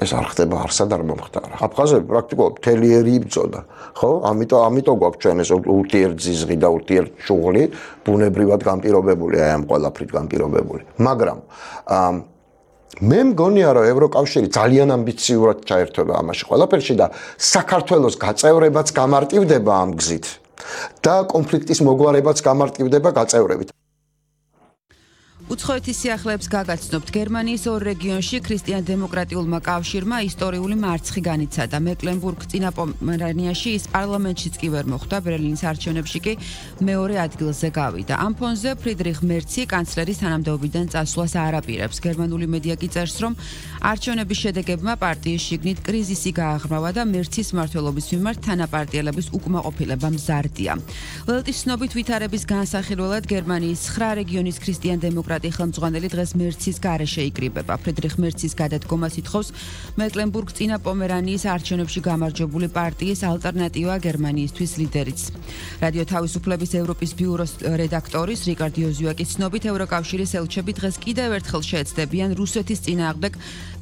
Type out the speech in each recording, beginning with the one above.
ეს არ ხდება, არსად არ მომხდარა. აფხაზები პრაქტიკულად მთელი ერი იბრძოდა, ხო? ამიტომ გვაქვს ჩვენ ეს ურთიერთზიზღი და ურთიერთშუღლი, ბუნებრივად განპირობებული, აი ამ ყველაფრით განპირობებული. მაგრამ მე მგონია, რომ ევროკავშირი ძალიან ამბიციურად ჩაერთვება ამაში ყველაფერში და საქართველოს გაწევრებაც გამარტივდება ამ გზით და კონფლიქტის მოგვარებაც გამარტივდება გაწევრებით. უცხოეთის სიახლეებს გაგაცნობთ. გერმანიის ორ რეგიონში ქრისტიან-დემოკრატიულმა კავშირმა ისტორიული მარცხი განიცადა. მეკლენბურგ-წინა პომერანიაში ის პარლამენტშიც კი ვერ მოხვდა, ბერლინის არჩევნებში კი მეორე ადგილზე გავიდა. ამ ფონზე ფრიდრიხ მერცი კანცლერის თანამდებობიდან წასვლას არ აპირებს. გერმანული მედია კი წერს, რომ არჩევნების შედეგებმა პარტიის შიგნით კრიზისი გააღრმავა და მერცის მმართველობის მიმართ თანაპარტიელების უკმაყოფილება მზარდია. ველტის ცნობით ვითარების განსახილველად გერმანიის 9 რეგიონის ქრისტიან-დემოკრატიული ხელმძღვანელი დღეს მერცის გარეშე იკრიბება. ფრიდრიხ მერცის გადადგომას ითხოვს მეკლენბურგ-წინა პომერანიის არჩევნებში გამარჯვებული პარტიის ალტერნატივა გერმანიისთვის ლიდერიც. რადიო თავისუფლების ევროპის ბიუროს რედაქტორის რიკარდ იოზუაკის ცნობით ევროკავშირის ელჩები დღეს კიდევ ერთხელ შეეცდებიან რუსეთის წინააღმდეგ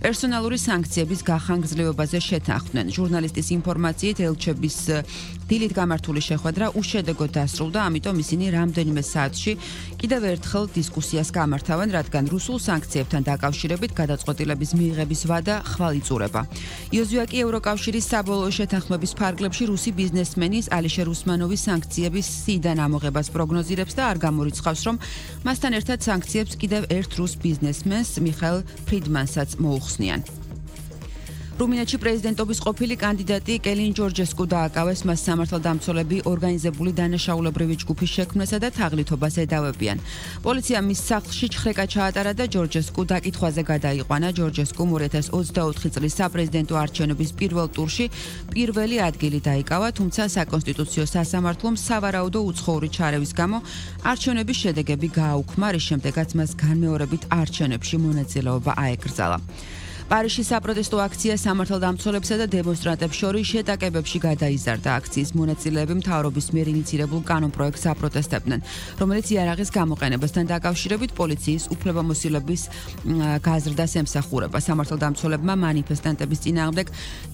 პერსონალური სანქციების გახანგრძლივებაზე შეთანხმდნენ. ჟურნალისტის ინფორმაციით ელჩების დილით გამართული შეხვედრა უშედეგოდ დასრულდა, ამიტომ ისინი რამდენიმე საათში კიდევ ერთხელ დისკუსიას გამართავენ, რადგან რუსულ სანქციებთან დაკავშირებით გადაწყვეტილების მიღების ვადა ხვალ იწურება. იოზუაკი ევროკავშირის საბოლოო შეთანხმების ფარგლებში რუსი ბიზნესმენის ალიშერ უსმანოვის სანქციების სიიდან ამოღებას პროგნოზირებს და არ გამორიცხავს, რომ მასთან ერთად სანქციებს კიდევ ერთ რუს ბიზნესმენს მიხაილ ფრიდმანსაც მოუხსნიან. რუმინეთში პრეზიდენტობის ყოფილი კანდიდატი კელინ ჯორჯესკუ დააკავეს, მას სამართალდამცველები ორგანიზებული დანაშაულებრივი ჯგუფის შექმნასა და თაღლითობას ედავებიან. პოლიციამ მის სახლში ჩხრეკა ჩაატარა და ჯორჯესკუ დაკითხვაზე გადაიყვანა. ჯორჯესკუმ 2024 წლის საპრეზიდენტო არჩევნების პირველ ტურში პირველი ადგილი დაიკავა, თუმცა საკონსტიტუციო სასამართლომ სავარაუდო უცხოური ჩარევის გამო არჩევნების შედეგები გააუქმა, რის შემდეგაც მას განმეორებით არჩევნებში მონაწილეობა აეკრძალა. პარიზში საპროტესტო აქცია სამართალდამცველებსა და დემონსტრანტებს შორის შეტაკებებში გადაიზარდა. აქციის მონაწილეები მთავრობის მიერ ინიცირებულ კანონპროექტს აპროტესტებდნენ, რომელიც იარაღის გამოყენებასთან დაკავშირებით პოლიციის უფლებამოსილების გაზრდას ემსახურება. სამართალდამცველებმა მანიფესტანტების წინააღმდეგ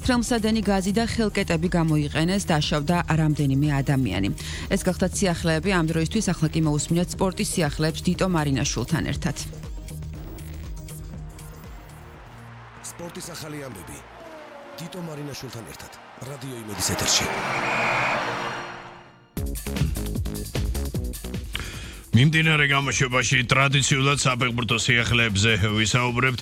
თრელმსადენი გაზი და ხელკეტები გამოიყენეს, დაშავდა რამდენიმე ადამიანი. ეს გახლდათ სიახლეები ამ დროისთვის, ახლა კი მოусმინეთ სპორტის სიახლეებს დიტო მარინაშვილთან ერთად. სპორტის ახალი ამბები დიტო მარინაშვილთან ერთად რადიო იმედის ეთერში. მიმდინარე გამოშვებაში ტრადიციულად საფეხბურთო სიახლეებზე ვისაუბრებთ.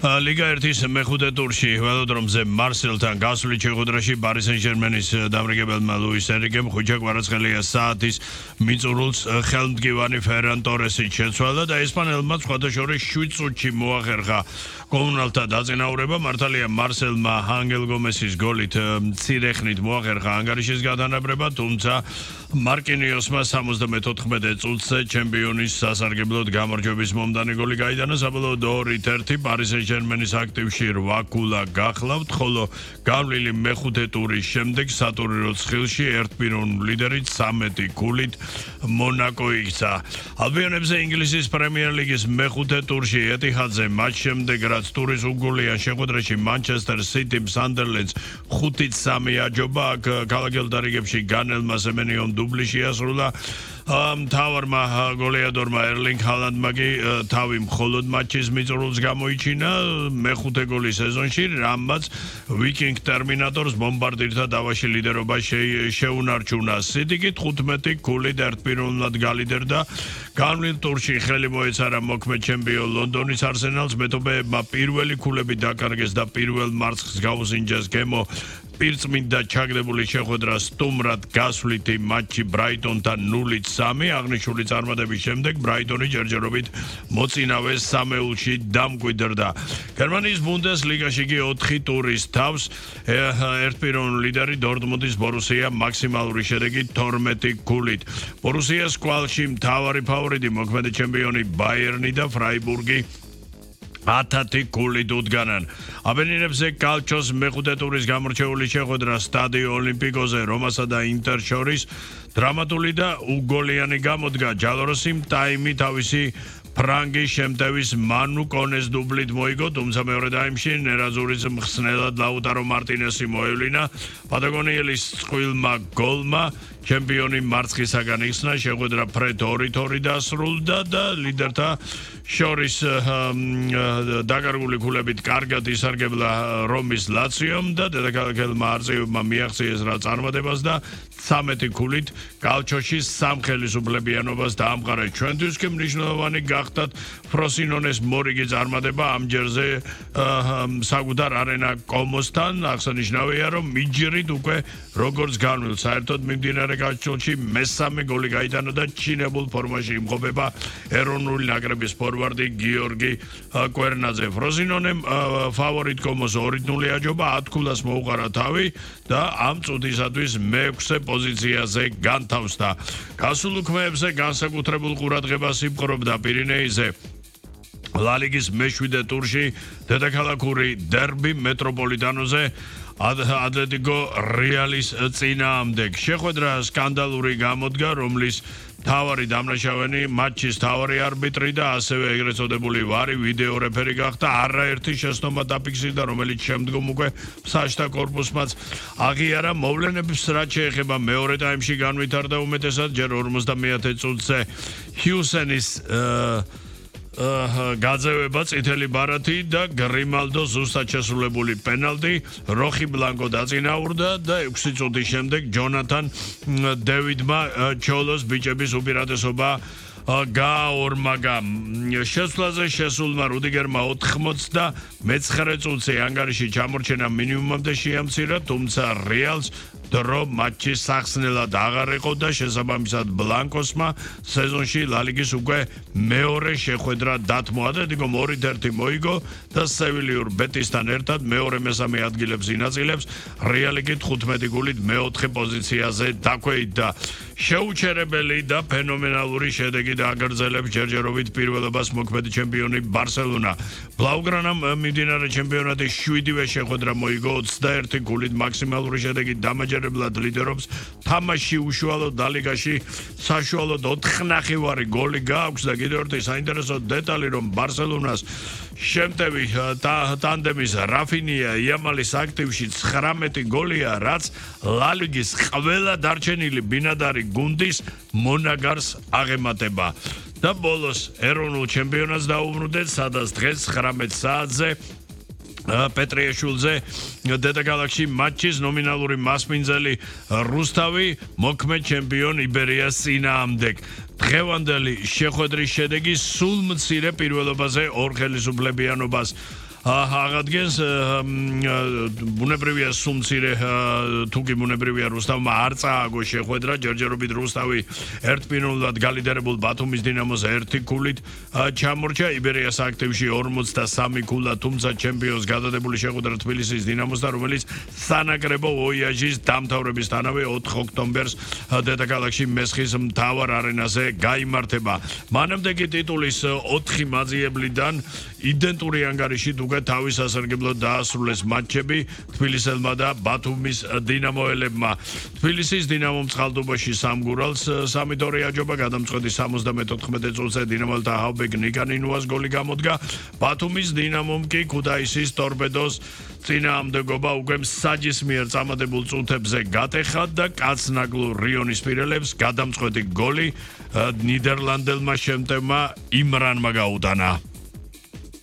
ლიგა 1-ის მეხუთე ტურში ველოდრომზე მარსელთან გასული შეხვედრაში პარი სენ-ჟერმენის დამრიგებელმა ლუის ენრიკემ ხუჭა კვარაცხელია საათის მიწურულს ხელმდგივანი ფერან ტორესი შეცვალა და ესპანელმა სხვათა შორის 7 წუთში მოახერხა კომუნალთა დაწინაურება. მართალია მარსელმა ანგელ გომესის გოლით მცირე ხნით მოახერხა ანგარიშის გადანაბრება, თუმცა მარკინიოსმა 74 წუთზე ჩემპიონის სასარგებლოდ გამარჯვების მომდანი გოლი გაიტანა. საბოლოოდ 2-1 პარი სენ-ჟერმენის აქტივში 8 ქულა გახლავთ, ხოლო გავლილი მეხუთე ტურის შემდეგ სატურნირო ცხილში ერთპიროვნული ლიდერი 13 ქულით მონაკო იქცა. ალბიონებზე ინგლისის პრემიერ ლიგის მეხუთე ტურში ეტიჰადზე მათ შემდეგ რაც ტურის უგულიან შეხვედრაში მანჩესტერ სიტიმ სანდერლენდს 5-3 აჯობა, აქ ქალაქელ დარიგებში განელმა სემენიომ დუბლი შეასრულა. მთავარმა გოლეადორმა ერლინგ ჰალანდმა კი თავი მხოლოდ მატჩის მიწურულს გამოიჩინა მეხუთე გოლი სეზონში, რამაც ვიკინგ ტერმინატორს ბომბარდირთა დავაში ლიდერობა შეუნარჩუნა. სიტი კი 15 ქულით ერთპიროვნულად გალიდერდა. განვლილ ტურში ხელი მოეცარა მოქმედ ჩემპიონ ლონდონის არსენალს, მეტობეებმა პირველი ქულები დაკარგეს და პირველ მარცხს გაუსინჯეს გემო პირწმინდა ჩაგდებული შეხვედრა სტუმრად გასვლითი მატჩი ბრაიტონთან 0-3. აღნიშნული წარმატების შემდეგ ბრაიტონი ჯერჯერობით მოწინავე სამეულში დამკვიდრდა. გერმანიის ბუნდესლიგაში კი 4 ტურის თავს ერთპიროვნული ლიდერი დორტმუნდის ბორუსია მაქსიმალური შედეგით 12 ქულით. ბორუსიას კვალში მთავარი ფავორიტი მოქმედი ჩემპიონი ბაიერნი და ფრაიბურგი 10 ქულით უდგანან. აბენინებზე კალჩოს მეხუთე ტურის გამორჩეული შეხვედრა სტადიო ოლიმპიკოზე რომასა და ინტერ შორის დრამატული და უგოლიანი გამოდგა. ჯალოროსიმ ტაიმი თავისი ფრანგი შემტევის მანუ კონეს დუბლით მოიგო, თუმცა მეორე ტაიმში ნერაზურის მხსნელად ლაუტარო მარტინესი მოევლინა. პატაგონიელის წყვილმა გოლმა ჩემპიონი მარცხისაგან იხსნა, შეხვედრა ფრედ 2-2 დასრულდა და ლიდერთა შორის დაკარგული ქულებით კარგად ისარგებლა რომის ლაციომ და დედაქალაქელმა არწივებმა მიაღწიეს რა წარმატებას და 13 ქულით კალჩოში სამხელისუფლებიანობას დაამყარა. ჩვენთვის კი მნიშვნელოვანი გახდათ ფროსინონეს მორიგი წარმატება ამ ჯერზე საკუთარ არენა კომოსთან. აღსანიშნავია, რომ მიჯრით უკვე როგორც განვლილ საერთოდ მიმდინარე გაჩვენში მესამე გოლი გაიტანა და ჩინებულ ფორმაში იმყოფება ეროვნული ნაკრების ფორვარდი გიორგი კვერნაძე. ფროსინონემ ფავორიტ კომოს 2-0 აჯობა, 10 ქულას მოუყარა თავი და ამ წუთისათვის მე-6 პოზიციაზე განთავსდა. გასულ უქმეებზე განსაკუთრებულ ყურადღებას იპყრობდა პირინეიზე. ლა ლიგის მე-7 ტურში დედაქალაქური დერბი მეტროპოლიტანოზე ატლეტიკო რეალის წინააღმდეგ. შეხვედრა სკანდალური გამოდგა, რომლის თავარი დამნაშავენი მატჩის თავარი არბიტრი და ასევე ეგრეთ წოდებული ვარი ვიდეო რეფერი გახდა. არაერთი შეცდომა დაფიქსირდა, რომელიც შემდგომ უკვე საჯთა კორპუსმაც აღიარა. მოვლენებს რაც შეეხება მეორე ტაიმში განვითარდა უმეტესად ჯერ 50-ე წუთზე ჰიუსენის გაძევება წითელი ბარათი და გრიმალდო ზუსტად შესრულებული პენალტი. როხი ბლანკო დაწინაურდა და 6 წუთის შემდეგ ჯონათან დევიდმა ჩოლოს ბიჭების უპირატესობა გააორმაგა. შესვლაზე შესულმა რუდიგერმა 99 წუთზე ანგარიში ჩამორჩენა მინიმუმამდე შეამცირა, თუმცა რეალს დრო მატჩის სახსნელად აღარ იყო და შესაბამისად ბლანკოსმა სეზონში ლა ლიგის უკვე მეორე შეხვედრა დათმო. ატლეტიკომ 2-1 მოიგო და სევილიურ ბეტისთან ერთად მეორე-მესამე ადგილებს ინაწილებს. რეალი კი 15 გულით მე-4 პოზიციაზე დაქვეითდა. შეუჩერებელი და ფენომენალური შედეგი დააგრძელებს ჯერჯერობით პირველობას მოქმედი ჩემპიონი ბარსელონა. ბლაუგრანამ მიმდინარე ჩემპიონატის 7-ვე შეხვედრა მოიგო, 21 გულით მაქსიმალური შედეგი დამაჯერებლად ლიდერობს. თამაში უშუალოდ ლიგაში საშუალოდ 4 ნახევარი გოლი გააქვს და კიდევ ერთი საინტერესო დეტალი, რომ ბარსელონას შემტევი ტანდემის რაფინია იამალის აქტივში 19 გოლია, რაც ლა ლიგის ყველა დარჩენილი ბინადარი გუნდის მონაგარს აღემატება. და ბოლოს ეროვნულ ჩემპიონატს დაუბრუნდეთ, სადაც დღეს 19 საათზე პეტრიაშვილზე დედაქალაქში მატჩის ნომინალური მასპინძელი რუსთავი მოქმედ ჩემპიონ იბერიას წინააღმდეგ. დღევანდელი შეხვედრის შედეგი სულ მცირე პირველობაზე ორ ხელისუფლებიანობას აღადგენს. ბუნებრივია სულ მცირე თუკი ბუნებრივია რუსთავმა არ წააგო შეხვედრა. ჯერჯერობით რუსთავი ერთპიროვნულად გალიდერებულ ბათუმის დინამოს 1 ქულით ჩამორჩა. იბერიას აქტივში 43 ქულა, თუმცა ჩემპიონს გადადებული შეხვედრა თბილისის დინამოსთან, რომელიც სანაკრებო ვოიაჟის დამთავრებისთანავე 4 ოქტომბერს დედაქალაქში მესხის მთავარ არენაზე გაიმართება. მანამდე კი ტიტულის 4 მაძიებლიდან იდენტური ანგარიშით უკვე თავის სასარგებლოდ დაასრულეს მატჩები თბილისელმა და ბათუმის დინამოელებმა. თბილისის დინამომ წყალტუბოში სამგურალს 3-2 აჯობა, გადამწყვეტი 74 წუთზე დინამოლთა ჰავბეკ ნიკანინუას გოლი გამოდგა. ბათუმის დინამომ კი ქუთაისის ტორპედოს წინააღმდეგობა უკვე საჯის მიერ წამადებულ წუთებზე გატეხა და კაცნაგლურ რიონის პირელებს გადამწყვეტი გოლი ნიდერლანდელმა შემტევმა იმრანმა გაუტანა.